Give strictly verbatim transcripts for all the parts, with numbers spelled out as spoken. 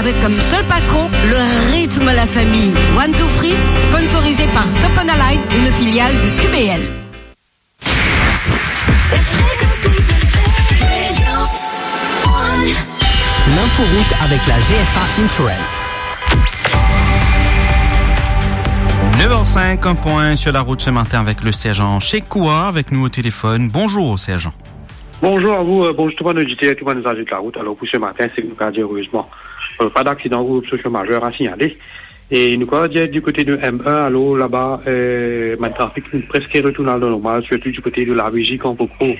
Comme seul patron, le rythme la famille. One Two Free, sponsorisé par Soponalite, une filiale de Q B L. L'inforoute avec la G F A Insurance. Neuf heures cinq, un point sur la route ce matin avec le sergent Shekoua, avec nous au téléphone. Bonjour, sergent. Bonzour a vou, euh, bonzour tou bann oditer, tou bann izaze larout. Alor, pou se matin, se nou kapav dir erezman, euh, pa daksidan ou obstruksion mazere a signale. E nou kapav dir di kote de M un, alor, laba, euh, bann trafik finn preske retourn a la normal, sirtou di kote de Lavizie, Camp Cocro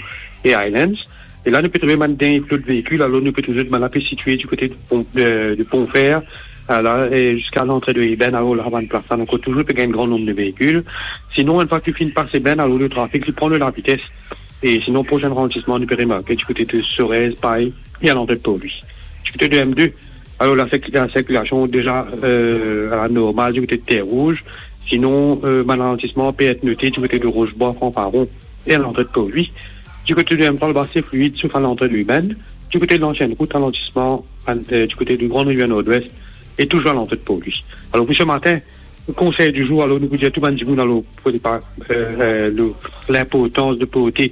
e Highlands. E la, nou pe trouve bann dernie flot veikil, alor nou pe trouv zot bann la pe sitwe di kote de Pon, euh, de Pont Fer, euh, la, e ziska lantre de Ebène, alor la, bann plas la, nou ankor touzour pe gagn gran nonb de veikil. Sinon, enn fwa ki finn pas Ebène, alor le trafik, li pran de lavites. E sinon, prosin ralantisman, nou pe remarke di kote de Sorèz, Pay, e a lantre de Port-Louis. Di kote de M deux, alor la sirk-, la sirkilasion deza, euh, a la normal di kote de Terre Rouge. Sinon, euh, bann ralantisman pe et note di kote de Roche-Bois, Franc-Paron, e a lantre de Port-Louis. Di kote de M trois, laba se fluid, sof a lantre de Ebène. Di kote de lansien rout, ralantisman, euh, di kote de Grande Rivière Nord-Ouest, e touzour a lantre de Port-Louis. Alor, pou se matin, konsey di zour, alor, nou pou dir tou bann dimoun, alor, pou pa, euh, euh, le, linportans de porte,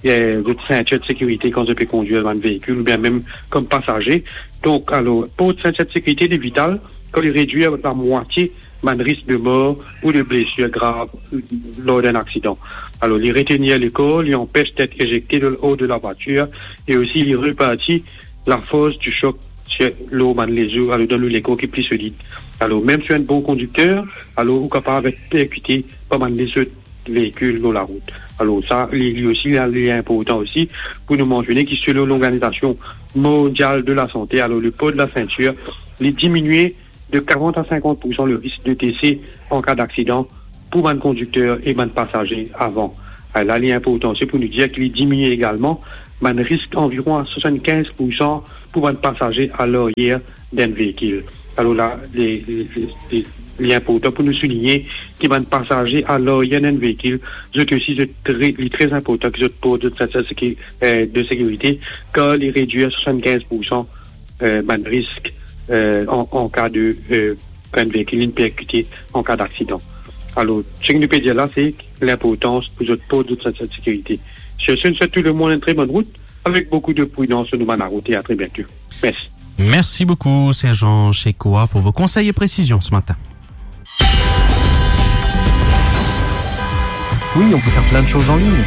euh, zot sintir de sekirite kan zot pe kondwir bann veikil, oubien mem kom pasaze. Donk, alor, port sintir de sekirite, li vital, kan li redwir lamwatie bann risk de mor ou de blesir grav lor d'enn aksidan. Alor, li retenir lekor, li anpes d'et ezekte de, or de la vwatir, e osi li reparti lafors di sok sir, lor bann lezo, alor donn ou lekor ki pli solid. Alor, mem si ou enn bon kondikter, alor ou kapav et perkite par bann lezot veikil lor larout. Alor sa, li, li osi, li, li inportan osi pou nou mansione ki selon Lorganizasion Mondial de la Sante, alor le port de la ceinture, li diminie de quarante à cinquante pour cent le risk de dese an ka daksidan pou bann kondikter e bann pasaze avan. Ah, la, li inportan osi pou nou dir ki li diminie egalman bann risk anviron a swasann-kinz pour san pou bann pasaze a laryer d'enn veikil. Alor la, li, li, li, li, li inportan pou nou souligne ki bann pasaze a laryer d'enn veikil, zot osi, zot tre, li tre inportan ki zot port zot sintir seki-, eh, de sekirite, kan li redwir swasann-kinz pour san, eh, bann risk, eh, an, an ka de, eh, kan enn veikil inn perkite an ka daksidan. Alor, seki nou pe dir la, se linportans pou zot port zot sintir sekirite. Sir se, nou swet tou lemonn enn tre bonn rout, avek boukou de pridans lor nou bann larout e a tre biento. Mersi. Merci beaucoup, sergent Shekoua, pour vos conseils et précisions ce matin. Oui, on peut faire plein de choses en ligne,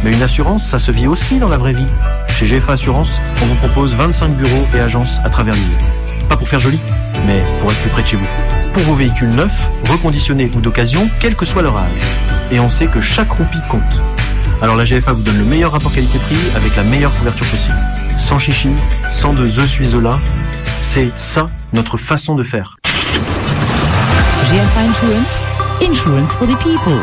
mais une assurance, ça se vit aussi dans la vraie vie. Chez G F A Assurance, on vous propose vingt-cinq bureaux et agences à travers l'île. Pas pour faire joli, mais pour être plus près de chez vous. Pour vos véhicules neufs, reconditionnés ou d'occasion, quel que soit leur âge. Et on sait que chaque roupie compte. Alors la G F A vous donne le meilleur rapport qualité-prix avec la meilleure couverture possible. Sans chichi, sans de je suis là, c'est ça notre façon de faire. G F A Insurance, insurance for the people.